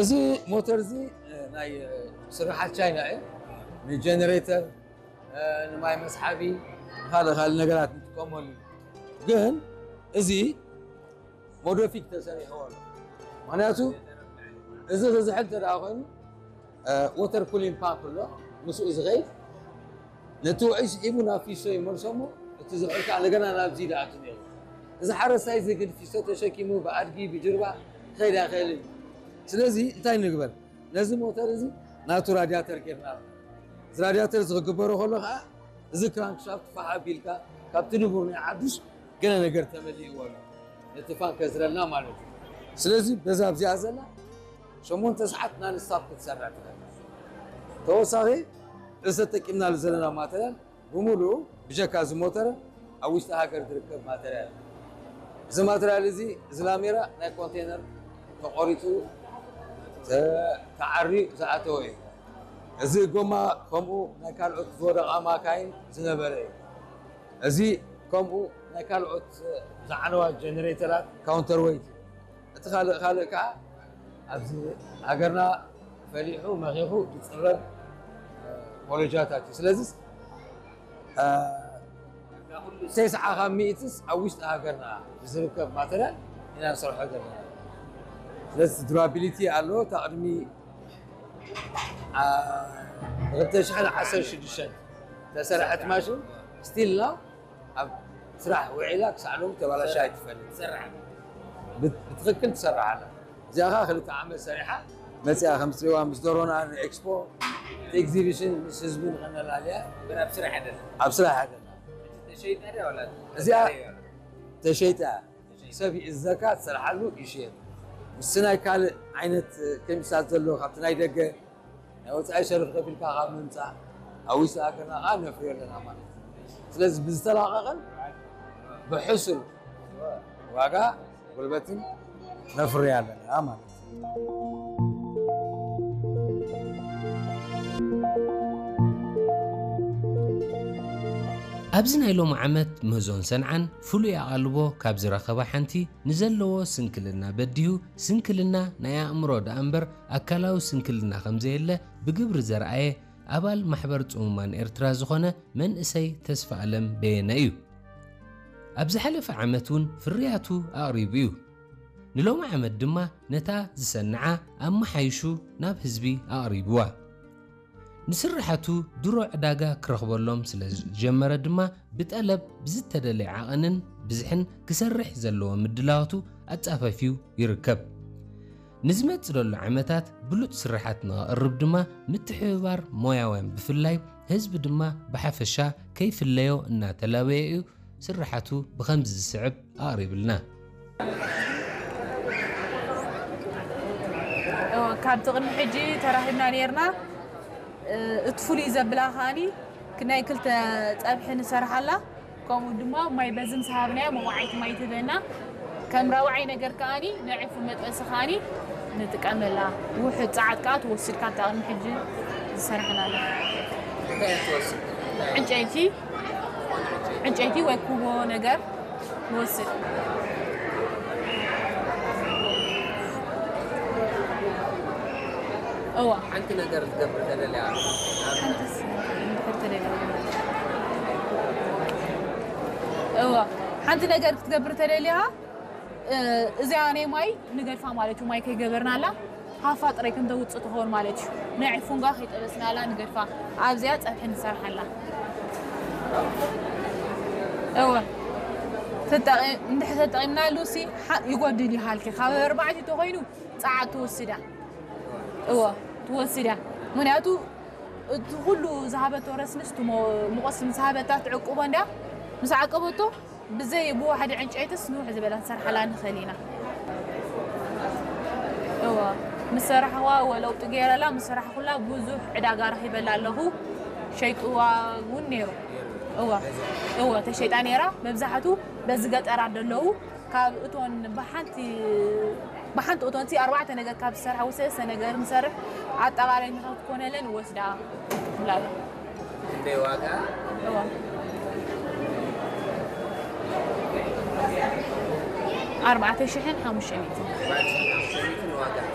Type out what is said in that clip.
እዚ ሞተር እዚ ናይ ስርሓት ቻይና እዩ። ንጀነሬተር፣ ንማይ መስሓቢ፣ ካልእ ካልእ ነገራት ንጥቀመሉ። ግን እዚ ሞዶፊክ ተሰሪሕዎ ኣሎ። ምክንያቱ እዚ ክዝሕል እንተ ደኣ ኮይኑ፣ ወተር ኩሊንግ ፓምፕ ኣሎ፣ ምስኡ ዝኸይድ ነቲ ውዑይ ስሒቡ ናብ ፊሶ ይመልሶ እሞ፣ እቲ ዝሑል ከዓ እንደገና ናብዚ ይኣቱ ነይሩ። እዚ ሓረስታይ እዚ ግን ፊሶ ተሸኪሙ ብኣድጊ ብጅርባ ክኸይድ ኣይኽእልን እዩ። ስለዚ እንታይ ንግበር? ነዚ ሞተር እዚ ናቱ ራድያተር ጌርና ኣለና። እዚ ራድያተር እዚ ክግበሮ ከሎ ከዓ እዚ ክራንክሻፍት ፋሕ ኣቢልካ ካብቲ ንቡር ናይ ሓዱሽ ገለ ነገር ተመሊእዎ ኣሎ። ነቲ ፋን ከዝረልና ማለት እዩ። ስለዚ በዛ ኣብዚኣ ዘላ ሸሞንተ ሰዓት ናንስታፕ ክትሰርሕ ትኽእል። ተወሳኺ እዚ ተጠቂምናሉ ዘለና ማተርያል ብምሉኡ ብጀካ እዚ ሞተር ኣብ ውሽጢ ሃገር ዝርከብ ማተርያል። እዚ ማተርያል እዚ፣ እዚ ላሜራ ናይ ኮንቴነር ተቖሪጹ ተ-፣ ተዓርዩ ዝኣተወ እዩ። እዚ ጎማ ከምኡ ናይ ካልኦት ዝወደቓ ማካይን ዝነበረ እዩ። እዚ ከምኡ ናይ ካልኦት ዝዓነዋ ጀነሬተራት ካውንተር ዌይት እዩ። እቲ ካልእ፣ ካልእ ከዓ ኣብዚ ሃገርና ፈሊሑ መኺኹ ዝፅረግ ፖሎጃታት እዩ። ስለዚ፣ እ፣ ተስዓ ካብ ሚእትስ ኣብ ውሽጢ ሃገርና ብዝርከብ ማተርያል ኢና ንሰርሖ ዘለና። ስለዚ ዱራቢሊቲ ኣለዎ። እታ ቅድሚ፣ እ፣ ክልተ ሽሕን ዓሰርተ ሽዱሽተን ተሰርሐት ማሽን ስቲል ናው ኣብ ስራሕ ውዒላ ክሳዕ ሎሚ ተባላሻ ኣይትፈልጥ። ትሰርሕ። ብት-፣ ብትኽክል ትሰርሕ ኣላ። እዚኣ ኸዓ ክልተ ዓመት ሰሪሓ መፂኣ፣ ከም ትሪእዋ ምስ ደሮና ንኤክስፖ፣ እቲ ኤግዚቢሽን ምስ ህዝቢ ንኸነላልያ። ግን ኣብ ስራሕ ኣይደለን። ኣብ ስራሕ ኣይደለን። ተሸይጣ ድያ ወላ እዚኣ ተሸይጣ። ሰብ ይእዘካ፣ ትሰርሓሉ ይሽየጥ። ምስቲ ናይ ካልእ ዓይነት ኬሚስታት ዘሎ ካብቲ ናይ ደገ ናይ ወፃኢ ሸርፊ ከፊልካ ካብ ምምፃእ ኣብ ውሽጢ ሃገርና ከዓ ነፍርዮ ኣለና ማለት እዩ። ስለዚ ብዝተላቐቐን ብሕሱር ዋጋ ጉልበትን ነፍርዮ ኣለና ማለት እዩ። ኣብዚ ናይ ሎሚ ዓመት ምህዞን ሰንዓን ፍሉይ ኣቓልቦ ካብ ዝረኸባ ሓንቲ፣ ንዘለዎ ስንክልና በዲሁ፣ ስንክልና ናይ ኣእምሮ ደኣ እምበር ኣካላዊ ስንክልና ከም ዘየለ ብግብሪ ዘርኣየ ኣባል ማሕበር ጽሙማን ኤርትራ ዝኾነ መንእሰይ ተስፋ ኣለም በየነ እዩ። ኣብ ዝሓለፈ ዓመት እውን ፍርያቱ ኣቕሪቡ እዩ። ንሎሚ ዓመት ድማ ነታ ዝሰንዓ ኣመሓይሹ ናብ ህዝቢ ኣቕሪብዋ። ንስርሓቱ ድሮ ዕዳጋ ክረኽበሎም ስለ ዝጀመረ ድማ ብጠለብ ብዝተደለየ ዓቐንን ብዝሕን ክሰርሕ ዘለዎ ምድላዋቱ ኣጻፈፊዩ ይርከብ። ንዝመጽእ ዘሎ ዓመታት ብሉጽ ስርሓት ንኸቕርብ ድማ ምትሕብባር ሞያውያን ብፍላይ ህዝቢ ድማ ብሓፈሻ ከይፍለዮ እናተላበየ እዩ ስርሓቱ ብኸምዚ ዝስዕብ ኣቕሪብልና። እወ፣ ካብቲ ቅድሚ ሕጂ ተራኺብና ነይርና። እ፣ እቲ ፍሉይ ዘብላ ከኣኒ ናይ ክልተ ጸብሒ ንሰርሓላ። ከምኡ ድማ ማይ በዚ ምስ ሃብናዮ መዋዓይቲ ማይ ትህበና። ከም ራብዓይ ነገር ከኣኒ ንዕፉን መጥበሲ ከኣኒ ንጥቀመላ። ውሑድ ጸዓት ከኣ ትወስድ ካብታ ቅድሚ ሕጂ ዝሰርሕናላ። እንታይ እያ ትወስድ? ዕንጨይቲ፣ ዕንጨይቲ ወይ ኩቦ ነገር ንወስድ። እዋ። ሓንቲ ነገር ክትገብር ተደልያ? ሓንቲስ እንድሕር ተደልያ? እዋ። ሓንቲ ነገር ክትገብር ተደልያ፣ እ፣ እዚኣ ናይ ማይ ንገድፋ ማለት እዩ። ማይ ከይገበርናላ ሃፋ ጥራይ ከም ተውፅእ ትኸውን ማለት እዩ። ናይ ዕፉንጋ ከይጠበስናላ ንገድፋ። ኣብዚኣ ፀብሒ ንሰርሓላ። እወ። ተጠቂ-፣ እንድሕር ተጠቂምናሉ ሲ ሓ-፣ ይጎድል ይሃልኪ። ካብ ኣርባዕተ ተኾይኑ ጸዓት ትወስዳ። እወ፣ ትወስዳ። ምኽንያቱ እቲ ኩሉ ዝሃበቶ ረስንስ፣ እቲ ሞ-፣ ሙቐት ምስ ሃበታ ትዕቅቦ እንድያ። ምስ ዓቀበቶ ብዘይ ብዋሕዲ ዕንጨይትስ ንውሕ ዝበለ ክንሰርሓላ ንኽእል ኢና። እወ፣ ምስ ሰራሕዋ፣ እወ፣ ለውጢ ገይረላ፣ ምስ ሰራሕኩላ ብዙሕ ዕዳጋ ረኺበላ ኣለኹ። ሸይጥዋ እውን ነይሩ። እወ፣ እወ፣ ተሸይጣ ነይራ። መብዛሕቱ በዚ ገጠራት ዘለዉ ካብ እቶን ብሓንቲ፣ ብሓንቲ እቶንቲ ኣርባዕተ ነገር ካብ ዝሰርሓ ወይ ሰለስተ ነገር ንሰርሕ፣ ኣጠቓላይ ንኽትኮነለን ወስዳ ትብላ ኣላ። ክንደይ ዋጋ? እዋ። ኣርባዕተ ሽሕን ሓሙሽተ ሚእትን። ኣርባዕተ ሽሕን ሓሙሽተ ሚእትን ዋጋ።